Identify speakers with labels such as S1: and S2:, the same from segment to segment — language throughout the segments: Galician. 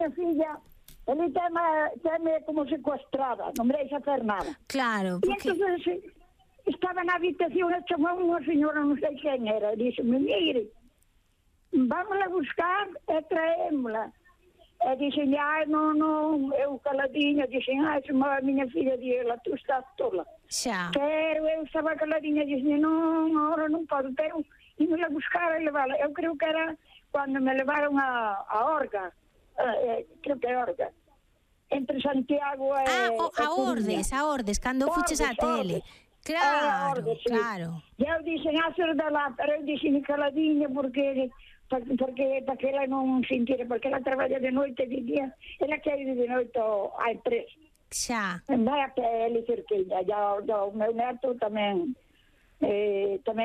S1: minha filha, ele tem-me como sequestrada, não me deixa fazer nada.
S2: Claro, porque...
S1: E então, estava na habitação, e chamou uma senhora, não sei quem era, disse-me, mire, vamos lá buscar e traemos-la. E disse, não, eu caladinha, disse, a minha filha disse, tu estás tola.
S2: Xa.
S1: Pero eu estava caladinha, disse, não, agora não posso, pero ir lá buscar e levá-la. Eu creio que era quando me levaram a Orga, creo que é Orga, entre Santiago e
S2: a Ordes, cando fuches á tele. Claro,
S1: Ordes, sí.
S2: claro.
S1: E eu disse, ser de lá, pero eu disse caladinha porque para que ela non sintira, porque ela traballa de noite e de día, ela quer ir de noite á empresa.
S2: Xa.
S1: Vai a pele cerquinha, o meu neto tamén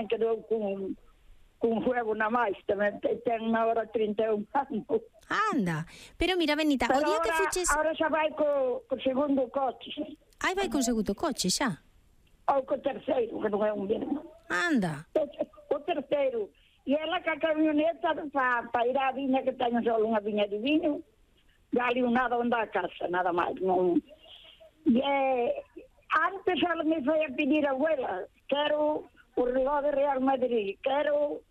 S1: quedou con fuego na máis, tamén ten unha hora 31 anos.
S2: Anda, pero mira, Benita, o día que fuches...
S1: Ahora xa vai co segundo coche.
S2: Ai, vai con segundo coche, xa.
S1: Ou co terceiro, que non é un bien.
S2: Anda.
S1: O terceiro. E ela ca camioneta para ir á viña, que teño só unha viña de viño, dali un nada onde a casa, nada máis. Non. E antes ela me foi a pedir a abuela, quero o reloj de Real Madrid, quero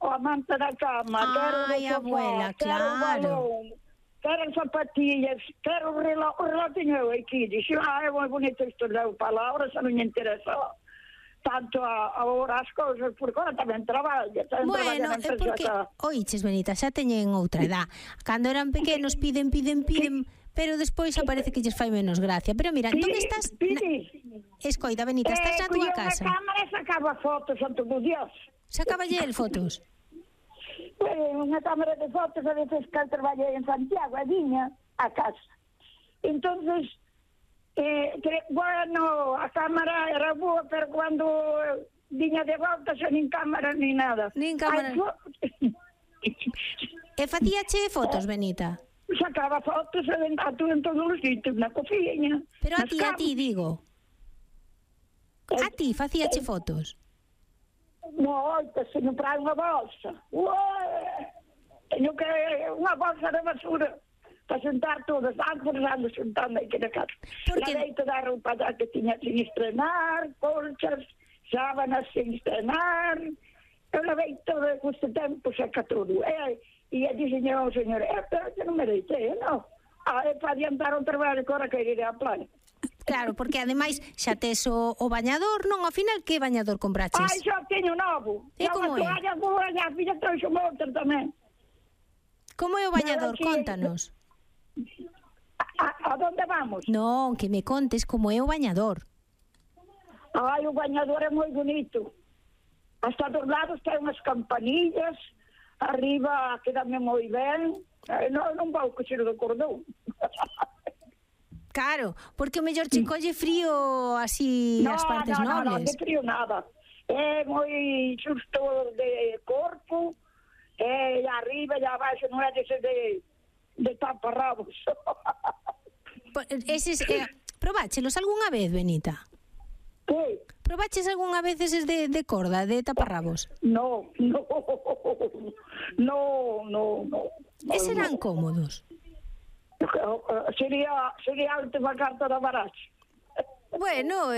S1: a manta da cama, quero o sofá,
S2: abuela,
S1: quero o
S2: claro.
S1: balón, quero as zapatillas, quero o reloj teño eu aquí. Dixo, é moi bonito isto, leu palabras, xa non me interesa tanto agora as cousas, porque agora tamén traballa.
S2: Bueno, é porque, oiches, Benita, xa teñen outra edad. Cando eran pequenos piden, pero despois aparece que lles fai menos gracia. Pero mira, entón estás... Escoita, Benita, estás na túa casa.
S1: A cámara sacaba fotos a todos os días.
S2: Sacaballe el fotos?
S1: Unha cámara de fotos, a veces que traballei en Santiago, a viña a casa. Entonces, bueno, a cámara era boa, pero cando viña de volta xa nin cámara ni nada.
S2: Nin cámara. E facíache fotos, Benita?
S1: Sacaba fotos a todos os sitios, na cociña.
S2: Pero a ti, digo. A ti facíache fotos?
S1: Moita, se non trae unha bolsa. Teño que unha bolsa de basura para sentar todas, ando sentando aquí na casa. Lavei toda a roupa que tiña sin estrenar, colchas, sábanas sin estrenar. Eu lavei todo este tempo, saca todo. E dixen ao señor, pero que non me deitei, non? É para adiantar o trabalho que ahora que iré á playa.
S2: Claro, porque ademais xa tes o bañador, non? Ao final, que bañador compraches?
S1: Ai, xa teño novo.
S2: E como é?
S1: A boa, a filla trouxe outra tamén.
S2: Como é o bañador? Contanos.
S1: A donde vamos?
S2: Non, que me contes como é o bañador.
S1: Ai, o bañador é moi bonito. Hasta dos lados ten unhas campanillas, arriba quedame moi ben. Non vou coxer do cordón.
S2: Claro, porque o mellor che colle frío así as partes nobles.
S1: Non, de frío nada. É moi xusto de corpo, e arriba e abaixo non é de taparrabos.
S2: Probáchelos algunha vez, Benita?
S1: Que?
S2: Probaches algunha vez eses de corda, de taparrabos?
S1: No.
S2: E serán cómodos?
S1: Sería a última carta da baraxa.
S2: Bueno,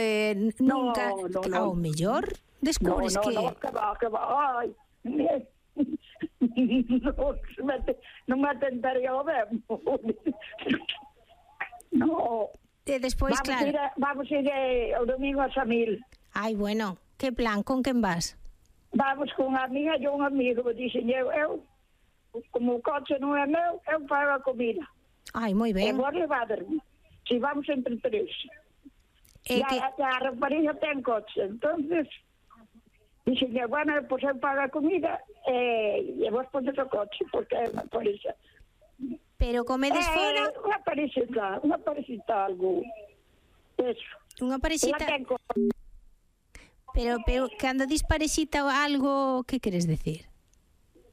S2: nunca... Ao mellor descubres que...
S1: Que va, ai... Non me atentaría ao mesmo. No.
S2: E despois, claro...
S1: Vamos ir o domingo a Samil.
S2: Ai, bueno, que plan, con quen vas?
S1: Vamos con a amiga e un amigo. Dixen eu, como o coche non é meu, eu pago a comida.
S2: Ai, moi ben.
S1: E vos levaderme. Si vamos entre tres. A rapariga ten coche. Entonces, dixen, bueno, pois eu pago a comida e vos pones o coche, porque é unha parexa.
S2: Pero comedes fora?
S1: Unha parexita algo. Eso.
S2: Unha parexita... Pero cando dis parexita algo, que queres decir?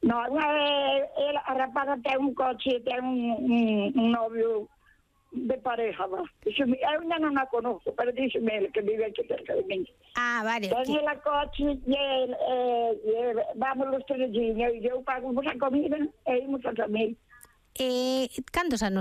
S1: No, a rapaza ten un coche, ten un novio de pareja, va. Eu ainda non a conozco, pero díxeme ele que vive aquí cerca de mí.
S2: Ah, vale.
S1: Ten el a coche e vamos los trezinhos e eu pago a comida e imos a Samil.
S2: Cantos anos